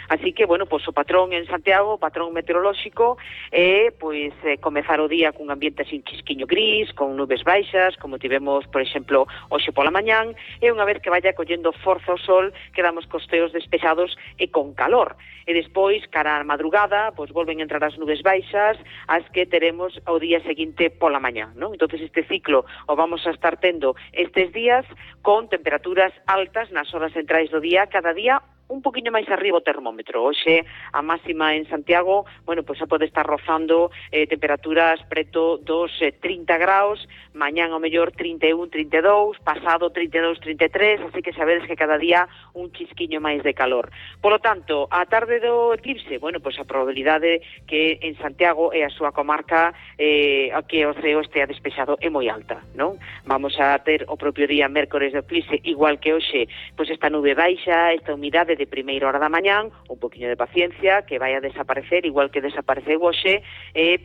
Así que, bueno, pois o patrón en Santiago, o patrón meteorolóxico, é, pois, comezar o día cun ambiente así un chisquiño gris, con nubes baixas, como tivemos, por exemplo, hoxe pola mañán, e unha vez que vaya collendo forza o sol, quedamos cos ceos despejados e con calor. E despois, cara á madrugada, pois volven a entrar as nubes baixas, as que teremos o día seguinte pola mañán, non? Entonces este ciclo o vamos a estar tendo estes días con temperaturas altas nas horas centrais do día, cada día un poquinho máis arriba o termómetro. Hoxe a máxima en Santiago, bueno, pois xa pode estar rozando temperaturas preto dos 30 graus, mañán ao mellor 31, 32, pasado 32, 33, así que sabedes que cada día un chisquiño máis de calor. Por lo tanto, a tarde do eclipse, bueno, pois a probabilidade que en Santiago e a súa comarca que o ceo estea despexado é moi alta, non? Vamos a ter o propio día mércores do eclipse, igual que hoxe, pois esta nube baixa, esta humidade de primeira hora da mañán, un poquinho de paciencia, que vai a desaparecer, igual que desapareceu hoxe,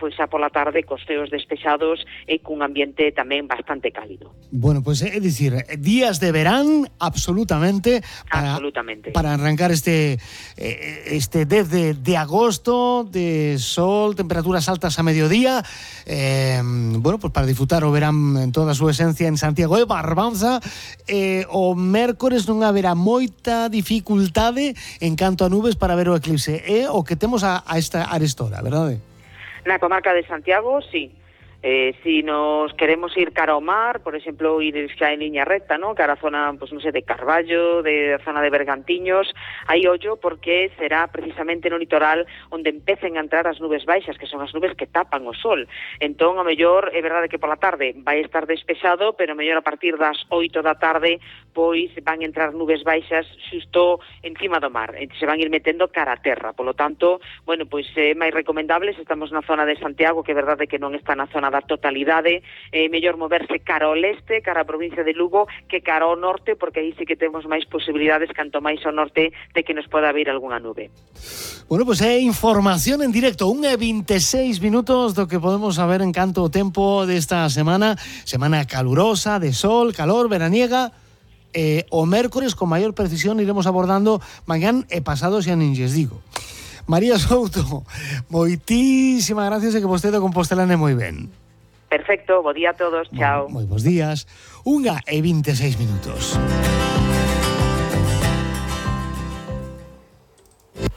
pois xa pola tarde cos ceos despexados e cun ambiente tamén bastante cálido. Bueno, pues é dicir, días de verán absolutamente para arrancar este 10 de agosto, de sol, temperaturas altas a mediodía, bueno, pues para disfrutar o verán en toda a súa esencia en Santiago de Barbanza. O mércores non haberá moita dificultade en canto a nubes para ver o eclipse. É o que temos a esta hora, verdade? Na comarca de Santiago, sí. Si nos queremos ir cara ao mar, por exemplo, ir xa en liña recta, ¿no? Cara a zona, pues non sei, de Carballo, de zona de Bergantiños, hai ollo porque será precisamente no litoral onde empecen a entrar as nubes baixas, que son as nubes que tapan o sol. Entón, a mellor, é verdade que pola tarde vai estar despexado, pero a mellor a partir das 8 da tarde, pois van entrar nubes baixas xusto encima do mar, se van ir metendo cara a terra. Por lo tanto, bueno, pois é máis recomendable, se estamos na zona de Santiago, que é verdade que non está na zona da totalidade, mellor moverse cara ao leste, cara a provincia de Lugo, que cara ao norte, porque aí sí que temos máis posibilidades, canto máis ao norte, de que nos poda vir algunha nube. Bueno, pues é información en directo, 1:26 minutos do que podemos saber en canto o tempo desta semana calurosa, de sol, calor, veraniega. O mércores con maior precisión iremos abordando mañán e pasado, xa nin lles digo. María Souto, moitísimas gracias e que vostede o compostelane moi ben. Perfecto, bo día a todos, chao. Moi bons días, 1:26 minutos.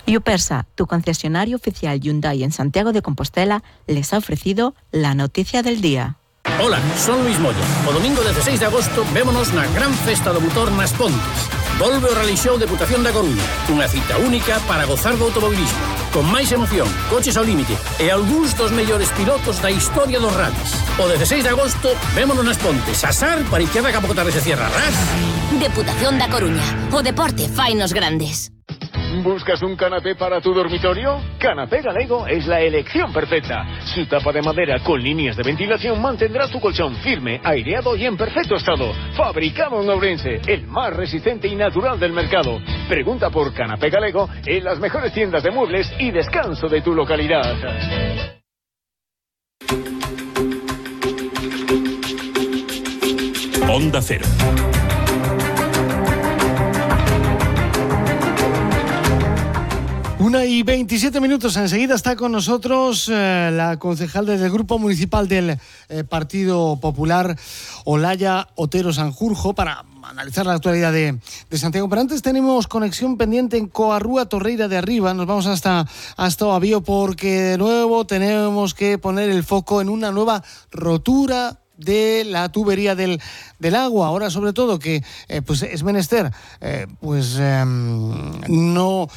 Yupersa, tu concesionario oficial Hyundai en Santiago de Compostela, les ha ofrecido la noticia del día. Hola, son Luis Moya. O domingo 16 de agosto vémonos na gran festa do motor nas Pontes. Volve o Rally Show Deputación da Coruña, unha cita única para gozar do automobilismo, con máis emoción, coches ao límite e algúns dos mellores pilotos da historia dos rallies. O 16 de agosto vémonos nas Pontes, asar para izquierda que a pouco tarde se cierra, ras. Deputación da Coruña, o deporte fainos grandes. ¿Buscas un canapé para tu dormitorio? Canapé Galego es la elección perfecta. Su tapa de madera con líneas de ventilación mantendrá tu colchón firme, aireado y en perfecto estado. Fabricado en Ourense, el más resistente y natural del mercado. Pregunta por Canapé Galego en las mejores tiendas de muebles y descanso de tu localidad. Onda Cero. 1:27 minutos. Enseguida está con nosotros la concejal del Grupo Municipal del Partido Popular, Olaya Otero Sanjurjo, para analizar la actualidad de Santiago. Pero antes tenemos conexión pendiente en Coarrúa Torreira de Arriba. Nos vamos hasta o Avío porque de nuevo tenemos que poner el foco en una nueva rotura de la tubería del agua. Ahora, sobre todo, que pues es menester no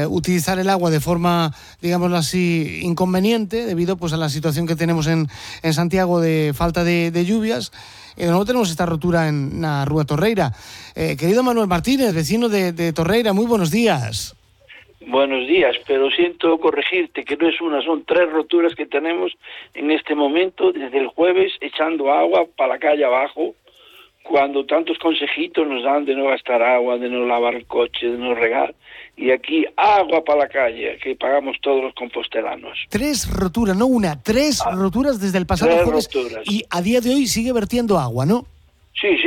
utilizar el agua de forma, digámoslo así, inconveniente, debido pues a la situación que tenemos en Santiago de falta de lluvias. De nuevo tenemos esta rotura en la Rúa Torreira. Querido Manuel Martínez, vecino de Torreira, muy buenos días. Buenos días, pero siento corregirte que no es una, son 3 roturas que tenemos en este momento, desde el jueves, echando agua para la calle abajo, cuando tantos consejitos nos dan de no gastar agua, de no lavar el coche, de no regar, y aquí agua para la calle, que pagamos todos los compostelanos. 3 roturas, no una, 3 roturas desde el pasado jueves, roturas. Y a día de hoy sigue vertiendo agua, ¿no? Sí,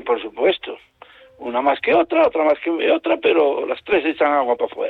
por supuesto. Una más que otra más que otra, pero las tres echan agua para afuera.